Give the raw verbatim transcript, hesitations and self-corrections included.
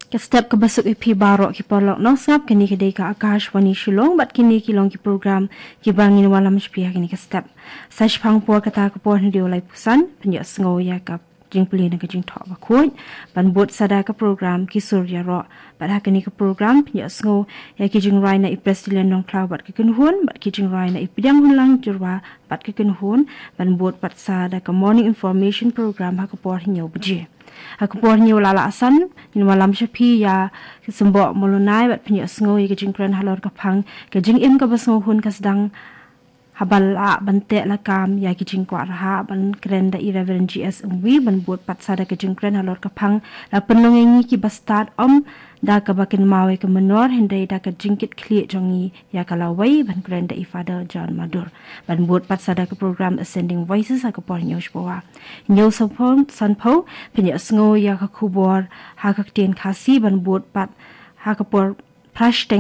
Ka step kaba suk ïa phi baroh ki paralok nongsngap, kane ka dei ka Akashvani Shillong bad kine ki long ki program kiba ngin wallam sha phi ha kane ka step. Sa shiphang por kata ka por hynriew laiphew san, pynïohsngew ïa ka jingpule na ka Jingthoh Bakhuid, ban bud sa da ka program Ki Sur Ïaroh. Bad ha kane ka program pynïohsngew ïa ki jingrwai na i Prestilian Nongkhlaw bad ka kynhun, bad ki jingrwai na i Pdiang Hunlang Jyrwa bad ka kynhun, ban bud pat sa da ka Morning Information Program ha ka por hynñiew baje. Ha ka por hynñiew la la asan, ngin wallam sha phi ïa ka Symboh Molonai bad pynïohsngew ïa ka jingkren halor ka phang Ka Jingim Kaba Sngewhun Ka Sdang Haba Lah Ban Teh Lakam Ïa Ki Jingkwah Rhah, ban kren da i Reverend G S Umwi, ban bud pat sa da ka jingkren halor ka phang La Pynlong Ïa Ngi Kiba Stad, ym da kaba kynmaw ïa ka mynnor hynrei da ka jingkitkhlieh jong ngi ïa ka lawei, ban kren da i Father John Madur. Ban bud pat sa da ka program Ascending Voices ha ka por hynñiew shiphew. Hynñiew sanphew, sanphew, pynïohsngew ïa ka khubor ha ka ktien Khasi, ban bud pat ha ka por phra shiteng